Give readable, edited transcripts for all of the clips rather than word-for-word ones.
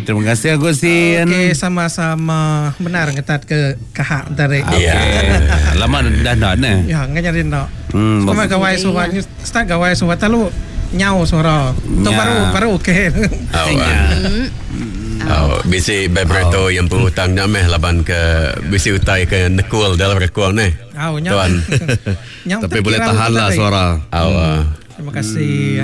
Terima kasih Agustin. Okey, sama-sama. Benar ngetat ke kahak tadi. Okey. Lama dah enda neh. Ya, enggak nyadi enda. Hmm. Sama gawai suba start gawai suba telu nyau suara. Tu baru baru okey. Au. Au, bisi vibrator yang empu utang nya meh laban ke bisi utai ke nekul dalam rekung neh. Au nya. Tuan. Tapi boleh tahan lah suara. Au. Terima kasih.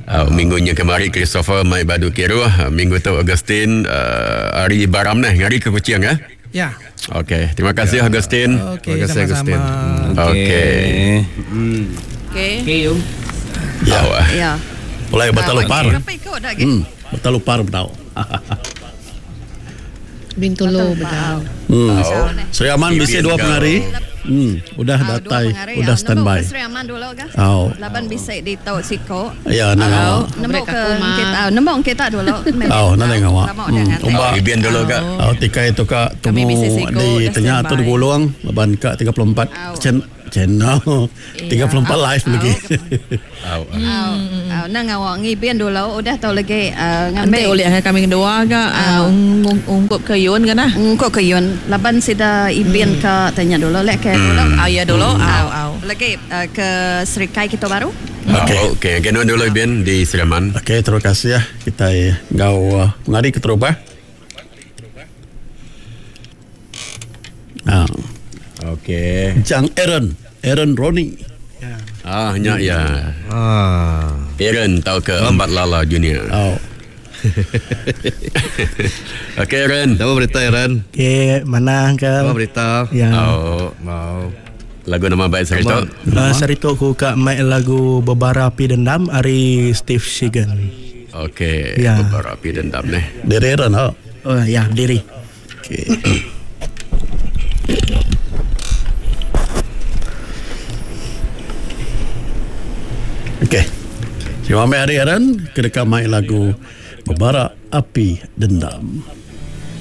Au, minggu nya kemari Christopher mai badu kiruh, minggu tu Augustine uh, ari Baram neh ngari ke Kuching eh. Ya. Okey, terima kasih Augustine. Okey, Terima kasih, sama-sama. Agustin. Okey. Hmm. Okey. Okey, Yung. Ya. Au. Ya. Pulai batal lupar. Berapa ikut dah lagi? Batal lupar bedau. Bintulu bedau. Hmm. Sri Aman bisi dua pengari. Udah Ah, datai, dua pengari, udah ah. standby. Nemu ke Sri Aman dulu kah? Au. Laban bisi ditu siko. Ya, nang Au, awak. nemu ke kita, nemu kita dulu. Au, nang awak. Lama udah nganti. Umba. Ibin dulu kak. Au tikai tu ka Kami tumu bisi siku, di udah tengah tu standby. digulung laban ka 34 Au. chen channel 34 live lagi. Au. Au, au, nang awak ngibin dulu udah tau lagi uh, Nanti ngambil oleh kami kedua ke ungkup ke Yun ke nah. Ungkup ke Yun. Laban sida ibin ke tanya dulu lek ke dulu. Au ya dulu, au au. Lagi uh, ke Serikai kita baru. Okey. Okey, okay. dulu Ibin di Sri Aman. Okey, terima kasih ya kita ngau pengari keterubah. Ah, Okey. Jang Aaron, Aaron Roni. Ah, nya ya. Ah. Aaron tau ke Embat Lala Junior. Oh. Okey Aaron. Apa berita Aaron? Okey, mana Apa uncle? berita? Ya. Oh, Mau. lagu nama baik saya tu. Sarito ku ka mai lagu Bebara Api Dendam ari Steve Shigan. Okey, Ya. beberapa api dendam neh. Diri Aaron oh. Oh ya, diri. Okey. Okey. Terima kasih hari Aaron kedeka mai lagu Bebara Api Dendam.